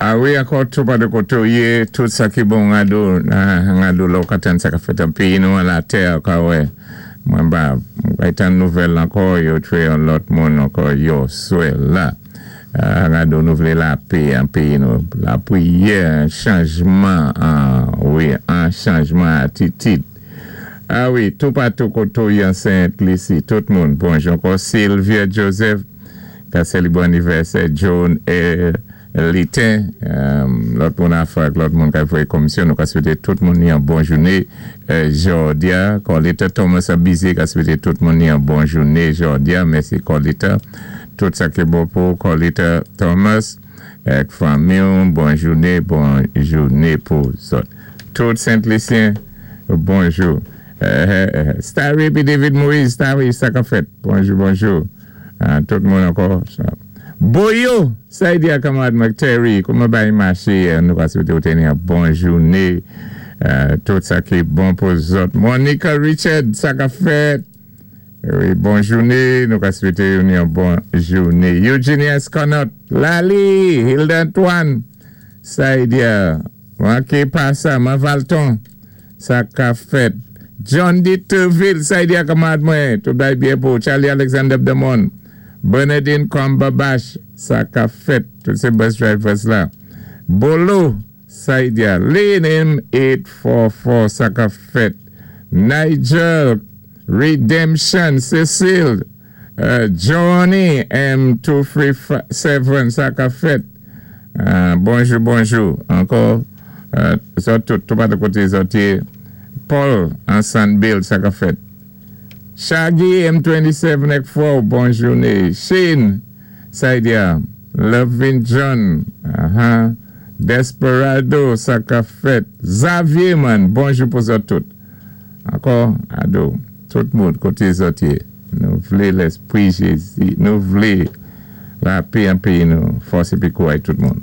A wi, ankò toupatou koté ou yé, tout sa ki bon gado, gado la ou ka tann sa ka fèt an péyi nou an latè ou ka wè. Mwen ba, mwen tann nouvèl ankò, yo twé yon lòt moun ankò yo swè la. Gado nou vlé lapè an péyi nou, lapriyè, an chanjman, wi, an chanjman atitid. A wi, toupatou koté ou yé an Sent Lisi, tout moun, bonjou ankò Sylvia Joseph, ka sélébwé anivèsè John E. Liten, lòt moun afè ak lòt moun ka voyé komisyon, nou ka swété tout moun ni yon bon jouné jòdi-a. Corlita Thomas ap bizi ka swété tout moun ni yon bon jouné jòdi-a. Mèsi Corlita. Tout sa ki bon pou Corlita Thomas ak fanmi, bon jouné, bon jouné pou zòt. Tout Sent-Lisyen, bonjou. Starry pi David Moïse, Starry, sa ka fèt. Bonjou, bonjou. Tout moun ankò. Boyo, sa y di a kanmarad McTerry, kouman bay maché, nou ka swété ou téni yon bon jouné. Tout sa ki bon pou zòt. Monica Richard, sa ka fèt. Wi, bon jouné, nou ka swété ou yon bon jouné. Eugenia Esconot, Lali, Hilda Antoine, sa y di a, manké pa sa, Man Valton, sa ka fèt. John D. Turville, sa y di a kanmarad mwen, tout bay byen pou Charlie Alexander Bdemon, Bernadine Cumberbatch, sa ka fèt, tout sé bus drivers la. Bolo, sa y di a, Lane M844, sa ka fèt. Nigel, Redemption, Cecile, Johnny M237, sa ka fèt. Bonjou, bonjou. Ankò, zòt tout, toupatou koté zòt yé. Paul, Ansan Bill, sa ka fèt. Shaggy M27 ek fò, bon jouné. Shane, sa y di a, Lovin John, aha. Desperado, sa ka fèt. Xavier, man, bonjou pou zòt tout. Ankò, ado, tout moun koté zòt yé. Nou vlé léspri Jézi, nou vlé lapè an péyi nou, fòs épi kouray tout moun.